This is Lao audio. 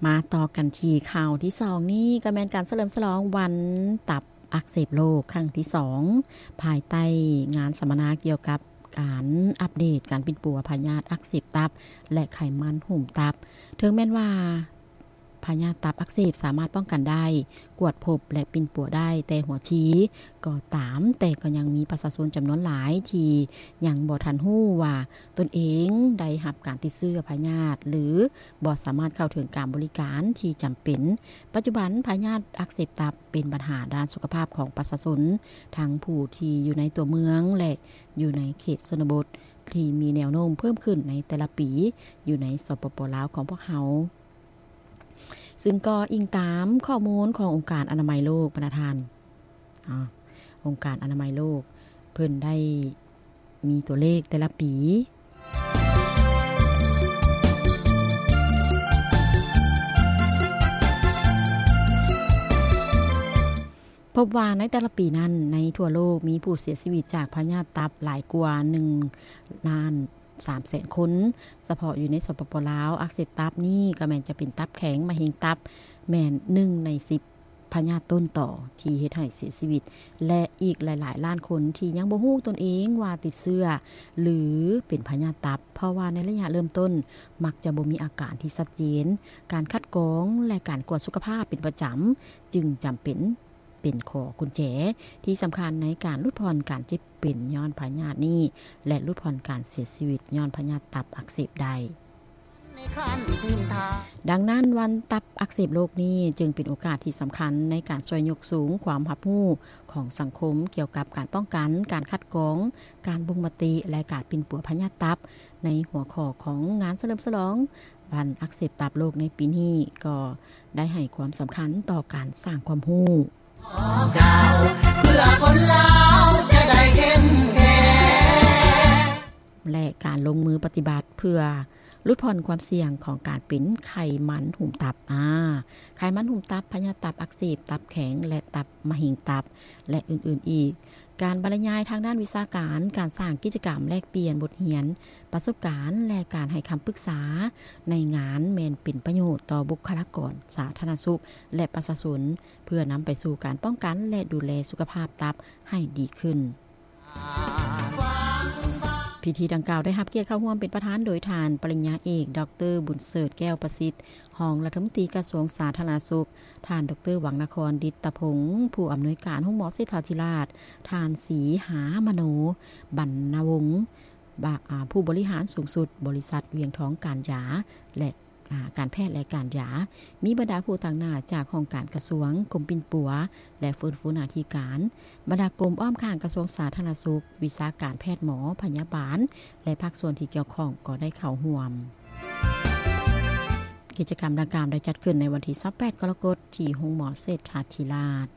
ມາຕໍ່ກັນທີ່ຂ່າວທີສອງນີ້ ກໍແມ່ນການສະເຫຼີມສະຫຼອງວັນຕັບອັກເສບໂລກຄັ້ງທີສອງ ພາຍໃຕ້ງານສຳມະນາກ່ຽວກັບການອັບເດດການປິ່ນປົວພະຍາດອັກເສບຕັບ ແລະ ໄຂມັນຫຸ້ມຕັບ. ເຖິງແມ່ນວ່າ ພະຍາດຕັບອັກເສບສາມາດປ້ອງກັນໄດ້, ກວດພົບ ແລະ ປິ່ນປົວໄດ້ແຕ່ຫົວທີກໍຕາມ, ແຕ່ກໍຍັງມີປະຊາຊົນຈຳນວນຫຼາຍທີ່ຍັງບໍ່ທັນຮູ້ວ່າຕົນເອງໄດ້ຮັບການຕິດເຊື້ອພະຍາດ ຫຼື ບໍ່ສາມາດເຂົ້າເຖິງການບໍລິການທີ່ຈຳເປັນ. ປັດຈຸບັນພະຍາດອັກເສບຕັບເປັນບັນຫາດ້ານສຸຂະພາບຂອງປະຊາຊົນ, ທັງຜູ້ທີ່ຢູ່ໃນຕົວເມືອງ ແລະ ຢູ່ໃນເຂດຊົນນະບົດ ທີ່ມີແນວໂນ້ມເພີ່ມຂຶ້ນໃນແຕ່ລະປີຢູ່ໃນ ສປປ ລາວ ຂອງພວກເຮົາ. ຊຶ່ງກໍອີງຕາມຂໍ້ມູນຂອງອົງການອະນາໄມໂລກ, ບັນດາທ່ານ, ອາ, ອົງການອະນາໄມໂລກ ເພິ່ນໄດ້ມີຕົວເລກແຕ່ລະປີ ພົບວ່າໃນແຕ່ລະປີນັ້ນ ໃນທົ່ວໂລກມີຜູ້ເສຍຊີວິດຈາກພະຍາດຕັບຫຼາຍກວ່າໜຶ່ງລ້ານສາມແສນຄົນ. ສະເພາະຢູ່ໃນ ສປປ ລາວ, ອັກເສບຕັບນີ້ກໍແມ່ນຈະເປັນຕັບແຂງ, ມະເຮັງຕັບ ແມ່ນໜຶ່ງໃນສິບພະຍາດຕົ້ນຕໍທີ່ເຮັດໃຫ້ເສຍຊີວິດ ແລະ ອີກຫຼາຍໆລ້ານຄົນທີ່ຍັງບໍ່ຮູ້ຕົນເອງວ່າຕິດເຊື້ອ ຫຼື ເປັນພະຍາດຕັບ, ເພາະວ່າໃນໄລຍະເລີ່ມຕົ້ນມັກຈະບໍ່ມີອາການທີ່ຊັດເຈນ. ການຄັດກອງ ແລະ ການກວດສຸຂະພາບເປັນປະຈຳຈຶ່ງຈຳເປັນ ເປັນຂໍ້ກຸນແຈທີ່ສຳຄັນໃນການຫຼຸດຜ່ອນການເຈັບເປັນຍ້ອນພະຍາດນີ້ ແລະ ຫຼຸດຜ່ອນການເສຍຊີວິດຍ້ອນພະຍາດຕັບອັກເສບໄດ້. ດັ່ງນັ້ນ, ວັນຕັບອັກເສບໂລກນີ້ຈຶ່ງເປັນໂອກາດທີ່ສຳຄັນໃນການຊ່ວຍຍົກສູງຄວາມຮັບຮູ້ຂອງສັງຄົມກ່ຽວກັບການປ້ອງກັນ, ການຄັດກອງ, ການບົ່ງມະຕິ ແລະ ການປິ່ນປົວພະຍາດຕັບ. ໃນຫົວຂໍ້ຂອງງານສະເຫຼີມສະຫຼອງວັນອັກເສບຕັບໂລກໃນປີນີ້ ກໍ ໄດ້ໃຫ້ຄວາມສຳຄັນຕໍ່ການສ້າງຄວາມຮູ້ ແລະ ການລົງມືປະຕິບັດເພື່ອຫຼຸດຜ່ອນຄວາມສ່ຽງຂອງການເປັນໄຂມັນຫຸ້ມຕັບ. ອາ, ໄຂມັນຫຸ້ມຕັບ, ພະຍາດຕັບອັກເສບ, ຕັບແຂງ ແລະ ຕັບມະເຮັງຕັບ ແລະ ອື່ນໆອີກ. ການບັນລະຍາຍທາງດ້ານວິຊາການ, ການສ້າງກິດຈະກຳແລກປ່ຽນບົດຮຽນປະສົບການ ແລະ ການໃຫ້ຄຳປຶກສາໃນງານແມ່ນເປັນປະໂຫຍດຕໍ່ບຸກຄະລາກອນສາທາລະນະສຸກ ແລະ ປະຊາຊົນ ເພື່ອນຳໄປສູ່ການປ້ອງກັນ ແລະ ດູແລສຸຂະພາບຕັບໃຫ້ດີຂຶ້ນ. ພິທີດັ່ງກ່າວໄດ້ຮັບກຽດເຂົ້າຮ່ວມເປັນປະທານໂດຍທ່ານປະລິນຍາເອກ ດອກເຕີ ບຸນເສີດ ແກ້ວປະສິດ ຮອງລັດຖະມົນຕີກະຊວງສາທາລະນະສຸກ, ທ່ານ ດອກເຕີ ວັງນະຄອນ ດິດຕະພົງ ຜູ້ອຳນວຍການໂຮງໝໍເສດຖາທິລາດ, ທ່ານ ສີຫາມະໂນ ບັນນະວົງ ບະ ອາ ຜູ້ບໍລິຫານສູງສຸດບໍລິສັດວຽງທອງການຢາ ແລະ ອາ ການແພດ ແລະ ການຢາ, ມີບັນດາຜູ້ຕາງໜ້າຈາກຫ້ອງການກະຊວງ, ກົມປິ່ນປົວ ແລະ ຟື້ນຟູໜ້າທີ່ການ, ບັນດາກົມອ້ອມຂ້າງກະຊວງສາທາລະນະສຸກ, ວິຊາການແພດໝໍ, ພະຍາບານ ແລະ ພາກສ່ວນທີ່ກ່ຽວຂ້ອງກໍໄດ້ເຂົ້າຮ່ວມ. ກິດຈະກຳດັ່ງກ່າວໄດ້ຈັດຂຶ້ນໃນວັນທີຊາວແປດ ກໍລະກົດ ທີ່ໂຮງໝໍເສດຖາທິລາດ.